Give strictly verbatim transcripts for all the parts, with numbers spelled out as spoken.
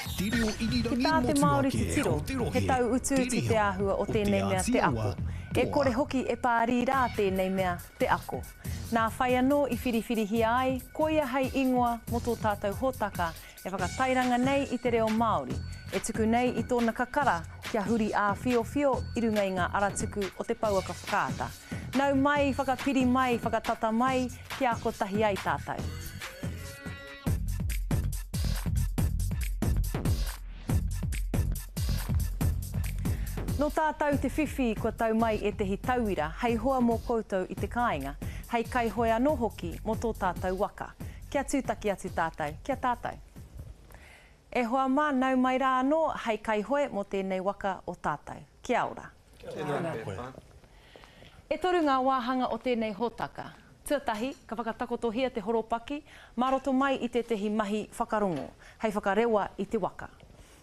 Ki tā te Māori titiro, he tau utuutu te āhua o tēnei mea te ako. E kore hoki e pārī rā tēnei mea te ako. Nā whai anō i whiriwhirihia ai, koia hei ingoa mō tō tātou hōtaka e whakatairanga nei i te reo Māori, e tuku nei i tōna kakara kia huri āwhiowhio i runga i ngā aratuku o te pouaka whakaata. Nau mai, whakapiri mai, whakatata mai, kia kotahi ai tātou. Nō tātou te whiwhi kua tau mai ētehi tauira hei hoa mō koutou i te kāinga, hei kaihoe anō hoki mō tō tātou waka. Kia tūtaki atu tātou, kia tātou. E hoa mā, nau mai rā anō hei kaihoe mō tēnei waka o tātou. Kia ora. Kia ora. E toru ngā wāhanga o tēnei hōtaka. Tuatahi, ka whakatakotohia te horopaki, mā roto mai i tētehi mahi whakarongo, hei whakarewa i te waka.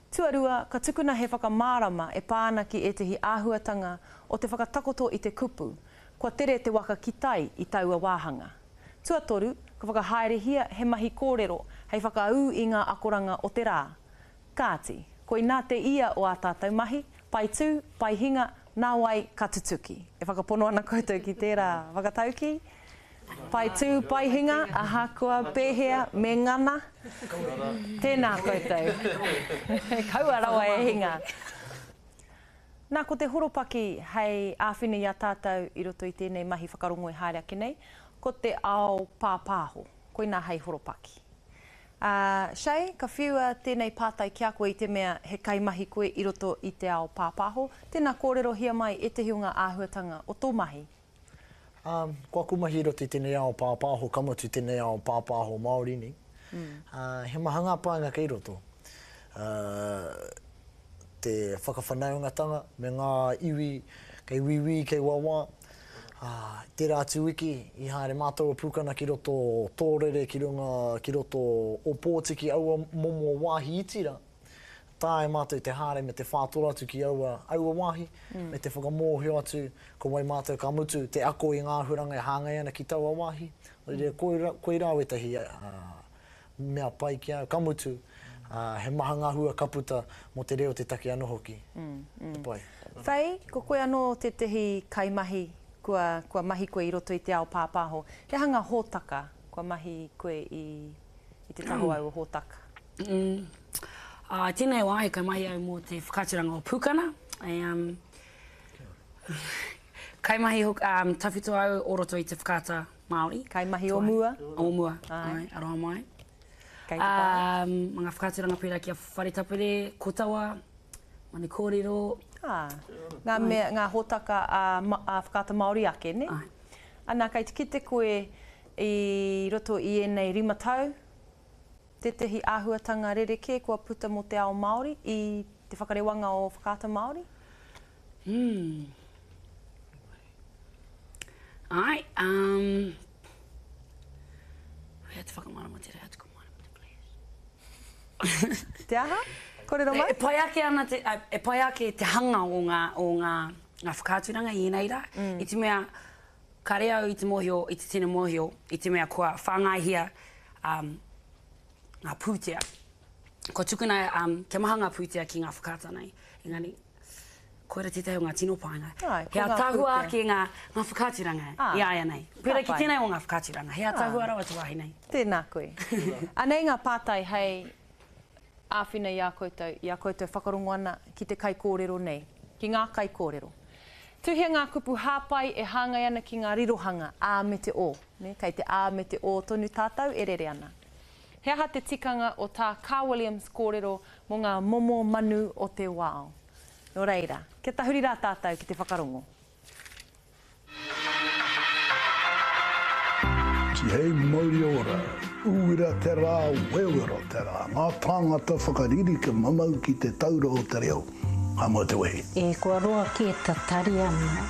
Tuarua, ka tukuna he whakamārama e pā ana ki ētehi āhuatanga o te whakatakoto i te kupu, kua tere te waka ki tai i taua wāhanga. Tuatoru, ka whakahaerehia he mahi kōrero hei whakaū i ngā akoranga o te rā. Kāti, koinā te ia o ā tātou mahi, pai tū, pai hinga, nā wai ka tutuki. E whakapono ana koutou ki tērā whakatauki? Pai tū, pai hinga, ahakoa pēhea, me ngana. Tēnā koutou. Kaua rawa e hinga. Nā, ko te horopaki hei āwhina i a tātou i roto i tēnei mahi whakarongo e haere ake nei, ko te ao pāpāho. Koinā hei horopaki. Uh, Shay, ka whiua tēnei pātai ki a koe i te mea he kaimahi koe i roto i te ao pāpāho. Tēnā kōrerohia mai ētehi o ngā āhuatanga o tō mahi. Um, ko aku mahi i roto i tēnei ao pāpāho, ka mutu tēnei ao pāpāho Māori nei. Mm. Uh, he maha ngā painga kei roto. Uh, te whakawhanaungatanga me ngā iwi kei wiwi, kei wawa. Uh, tērā atu wiki i haere mātou o Pūkana ki roto o Tōrere, ki runga, ki roto o Pōtiki, aua momo wāhi iti rā. Tae mātou te haere me te whātoro atu ki aua, aua wāhi, mm. me te whakamōhio atu ko wai mātou ka mutu te ako i ngā huranga e hāngai ana ki taua wāhi. Mm. Koira, koirā wetahi uh, mea pai ki au, ka mutu, uh, he maha ngā hua ka puta mō te reo te take anō hoki. Mm, mm. Te pai. Faye, ko koe anō tētehi kaimahi kua, kua mahi koe i roto i te ao pāpāho. He aha ngā hōtaka kua mahi koe i, i te taho au o hōtaka? Mm. Uh, tēnei wā, he kaimahi au mō te whakaaturanga o Pūkana. E, um, kaimahi um, tawhito au o roto i te whakaata Māori. Kaimahi o mua. O mua, ai, aroha mai. Kei te pai. Um, ngā whakaaturanga pērā ki a Whare Tapere, Kotawa, Manu Kōrero. Ah, ngā, mea, ngā hōtaka a, a whakaata Māori ake, ne? Ai. Ana, kei te kite koe i roto i ēnei rima tau, tētehi āhuatanga rerekē kua puta mō te ao Māori i te whakarewanga o whakaata Māori? Hmm. Ai, um... Hea te whakamārama te rea tuku mārama te please. Te aha? Kōrero mai? E, e pai ake ana te, e pai ake te hanga o ngā, o ngā, ngā whakaaturanga i ēnei rā. Mm. I te mea, kare au i te mōhio, i te tino mōhio, i te mea kua whāngaihia um, ngā pūtea. Kua tukuna um, kia maha ngā pūtea ki ngā whakaata nei. Engari, koira tētahi o ngā tino painga. Ai, ko He ngā ātaahua pūtea. ake ngā, ngā whakaaturanga Ah, i aia nei. Pērā ka ki pai. tēnei o ngā whakaaturanga. He ātaahua Ah. rawa te wāhi nei. Tēnā koe. Anei ngā pātai hei āwhina i a koutou, i a koutou whakarongo ana ki te kaikōrero nei, ki ngā kaikōrero. Tuhia ngā kupu hāpai e hāngai ana ki ngā rirohanga, A me te O. Ne? Kei te A me te O tonu tātou e rere ana. He aha te tikanga o tā Kaa Williams kōrero mō ngā momo manu o te wao. Nō reira, kia tahuri rā tātou ki te whakarongo. Tihei mauri ora, uira te rā, wewero te rā. Ngā tāngata whakariri ke mamau ki te taura o te reo. Ka mau te wehi. E kua roa kē tatari ana,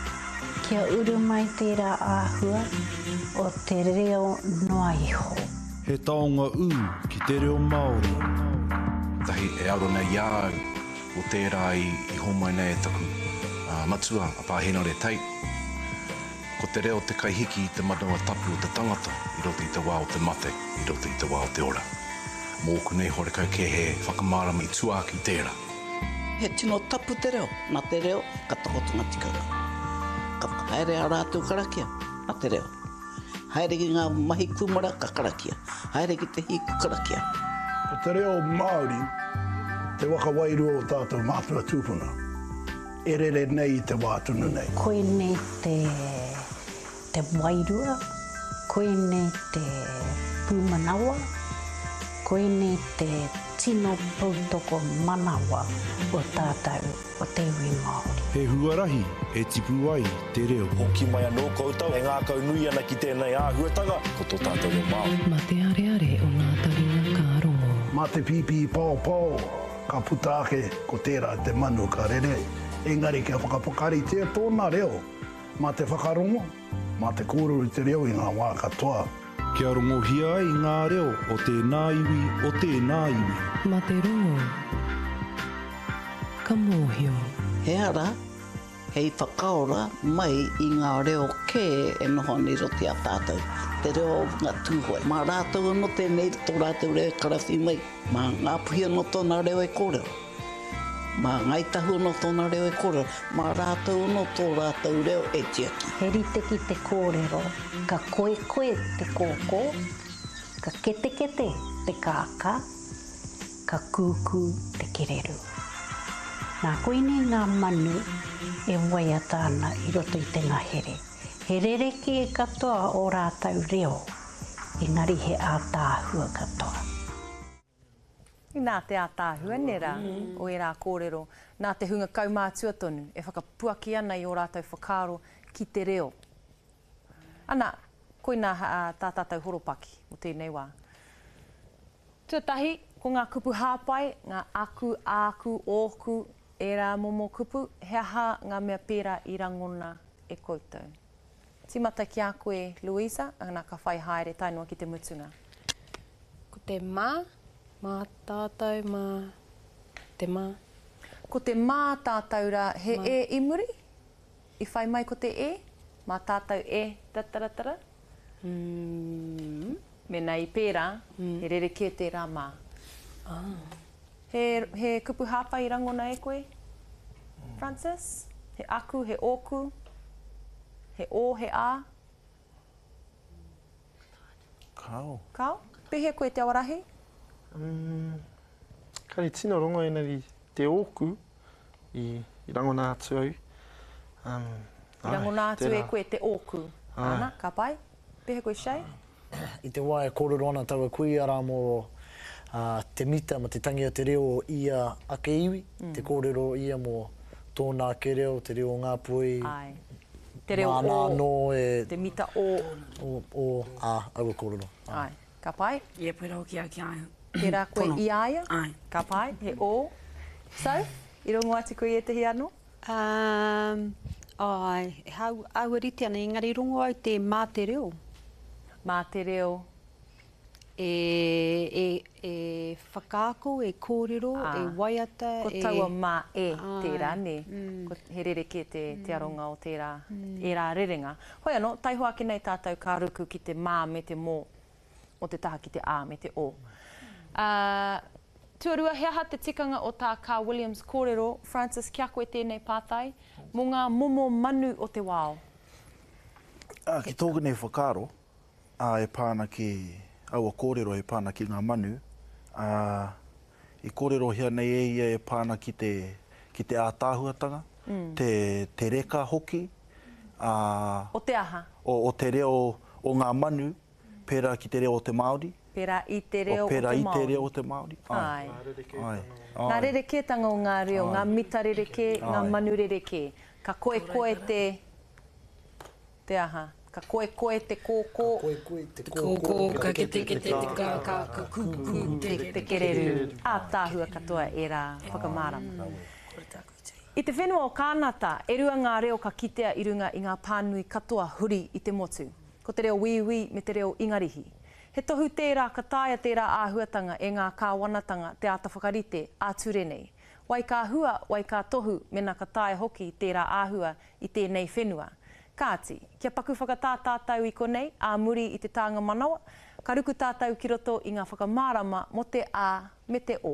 kia uru mai tērā āhua o te reo noa iho. He taonga ū ki te reo Māori. Tahi e aro nei i a au o tērā i, i homai nei e taku uh, matua, a Pā Henare Tate. Ko te reo te kaihiki i te manawa tapu o te tangata i roto i te wā o te mate, i roto i te wā o te ora. Mōku nei horekau kē he whakamārama i tua ake i tērā. He tino tapu te reo, nā te reo ka takoto ngā tikanga. Ka haere ā rātou karakia, nā te reo. Haere ki ngā mahi kūmara ka karakia, haere ki te hī ka karakia. Ko te reo Māori te waka wairua o tātou mātua tūpuna, e rere nei i te wā tonu nei. Koinei te, te wairua, koinei te pūmanawa, koinei te tino poutoko manawa o tātou, o te iwi Māori. He huarahi e tipu ai te reo. Hoki mai anō koutou e ngākau nui ana ki tēnei āhuatanga, ko tō tātou reo Māori. Mā te areare o ngā taringa ka rongo. Mā te pīpī paopao ka puta ake ko tērā te manu ka rere, engari kia whakapakaritia tōna reo mā te whakarongo, mā te kōrero i te reo i ngā wā katoa. Kia rongohia ai ngā reo o tēnā iwi, o tēnā iwi. Mā te rongo, ka mōhio. He ara hei whakaora mai i ngā reo kē e noho ana i roto i a tātou, te reo o ngā Tūhoe. Mā rātou anō tēnei tō rātou reo e karawhi mai, mā Ngāpuhi anō tōna reo e kōrero, mā Ngāi Tahu anō tōna reo e kōrero, mā rātou anō tō rātou reo e tiaki. He rite ki te kōrero, ka koekoe te kōkō, ka ketekete te kākā, ka kūkū te kererū. Nā, koinei ngā manu e waiata ana i roto i te ngahere. He rerekē katoa o rātou reo, engari he ātaahua katoa. Nā te ātaahua nera o ērā kōrero, nā te hunga kaumātua tonu e whakapuaki ana i ō rātou whakaaro ki te reo. Ana, koinā tā tātou horopaki o tēnei wā. Tuatahi, ko ngā kupu hāpai, ngā aku, āku, ōku, ērā momo kupu, he aha ngā mea pērā i rangona e koutou? Tīmata ki a koe, Louisa, ana ka whai haere tae noa ki te mutunga. Ko te mā, mā tātou, mā te mā. Ko te mā tātou rā, he Mā. e i muri? I whai mai ko te e? Mā tātou e, tataratara? Mm. Mēnā i pērā, he rerekē tērā mā. Ah. He, he kupu hāpai i rangona e koe, Francis? He aku, he ōku? He ō, he ā? Kao. Kao? Pēhea koe te awarahi? Mm, kare tino rongo engari te ōku i, i rangona atu au. Um, I rangona atu e tērā. koe te ōku. Ai. Ana, ka pai. Pēhea koe, Shay? I te wā e kōrero ana taua kuia rā mō uh, te mita, mō te tangi o te reo o ia ake iwi, Mm. te kōrero ia mō tōna ake reo, te reo o Ngāpuhi, Ai. Te reo māna o, anō e, te mita o. o, o, ā, aua kōrero. Ai. Ka pai? Ia, pērā hoki au ki a ia. Pērā koe Pono. i a ia? Ai. Ka pai, he o. So, i rongo atu koe i ētahi anō? Um, ai, hau, aua rite ana, engari rongo au te mā te reo. Mā te reo. E, e, e whakaako, e kōrero, Ah. e waiata. Ko e... taua mā e Ai. tērā, nē. Mm. Ko he rerekē te, te aronga o tērā, Mm. ērā rerenga. Hoi anō, taihoa ake nei tātou ka ruku ki te mā me te mō o te taha ki te ā me te o. Uh, tuarua, he aha te tikanga o tā Kaa Williams kōrero, Francis, kia koe tēnei pātai, mō ngā momo manu o te wao? Ā, ki tōku nei whakaaro, ā, e pā ana ki aua kōrero e pā ana ki ngā manu, ā, i kōrerohia nei e ia e pā ana ki te, ki te ātaahuatanga, Mm. te, te reka hoki, ā, O te aha? o, o te reo o ngā manu, pērā ki te reo o te Māori. Pērā i te reo o pērā o te i te Māori. reo o te Māori. Ai. Ai. Ngā rerekētanga o ngā reo, Ai. ngā mita rerekē, ngā Ai. manu rerekē. Ka koekoe te, te aha? Ka koekoe te kōkō. Ka koekoe te kōkō, ka ketekete te kākā, ka kūkū te, te kererū. Ātaahua katoa ērā whakamārama. I te whenua o Kānata, e rua ngā reo ka kitea i runga i ngā pānui katoa huri i te motu. Ko te reo Wīwī me te reo Ingarihi. He tohu tērā ka taea tērā āhuatanga e ngā kāwanatanga te āta whakarite ā-ture nei. Wai ka hua, wai ka tohu, mena ka taea hoki tērā āhua i tēnei whenua. Kāti, kia paku whakatā tātou i konei, ā muri i te tānga manawa, Ka ruku tātou ki roto i ngā whakamārama mō te A me te O.